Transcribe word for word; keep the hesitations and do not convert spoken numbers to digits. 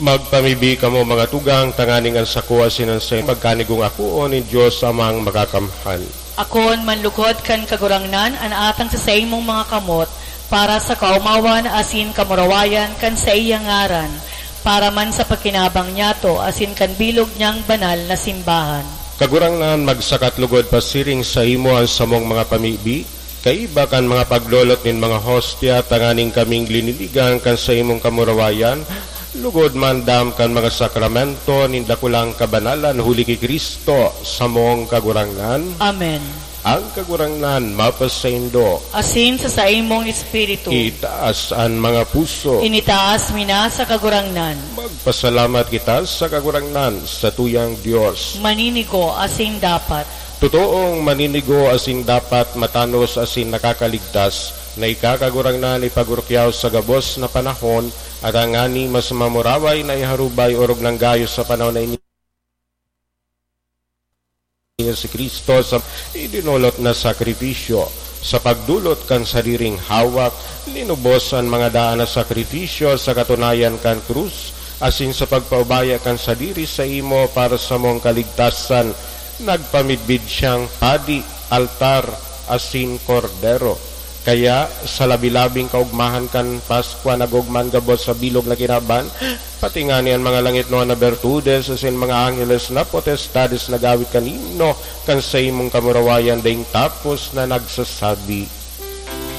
Magpamibi kamo, mga tugang, tanganing an sako asin an saimo pagkanigong akoon nin Dios Amang Makakamhan. Akoon manlugod kan Kagurangnan an atang sa saimong mga kamot, para sa kaomawan asin kamurawayan kan saiyang ngaran, para man sa pagkinabang niyato asin kan bilog niyang banal na simbahan. Kagurangnan, magsakat lugod pasiring saimo an samong mga pamibi, kaiba kan mga paglolot nin mga hostya, tanganing kaming lininigan kan saimong kamurawayan, lugod maandam kan mga sakramento nin dakulang kabanalan, huli ki Cristo, samong Kagurangnan. Amen. Ang Kagurangnan mapasaindo. Asin sa saimong espiritu. Itaas an mga puso. Initaas mi na sa Kagurangnan. Magpasalamat kita sa Kagurangnan, satuyang Dios. Maninigo asin dapat. Totoong maninigo asin dapat, matanos asin nakakaligtas, na ika, Kagurangnan, ipagurukyaw sa gabos na panahon, at tangani mas mamuraway na iharubay orog nang gayo sa panahon na ini si Cristo sa idinolot na sakripisyo, sa pagdolot kan sadiring hawak, linubos an mga daan na sakripisyo sa katunayan kan krus, asin sa pagpaubaya kan sadiri saimo para sa mong kaligtasan, nagpamidbid siyang padi, altar, asin kordero. Kaya, sa labi-labing kaogmahan kan Paskwa, nagogma an gabos sa bilog na kinaban, pati ngani an mga langitnoan na bertudes asin mga angheles na potestades nag-awit kan himno kan saimong kamurawayan, daing tapos na nagsasabi,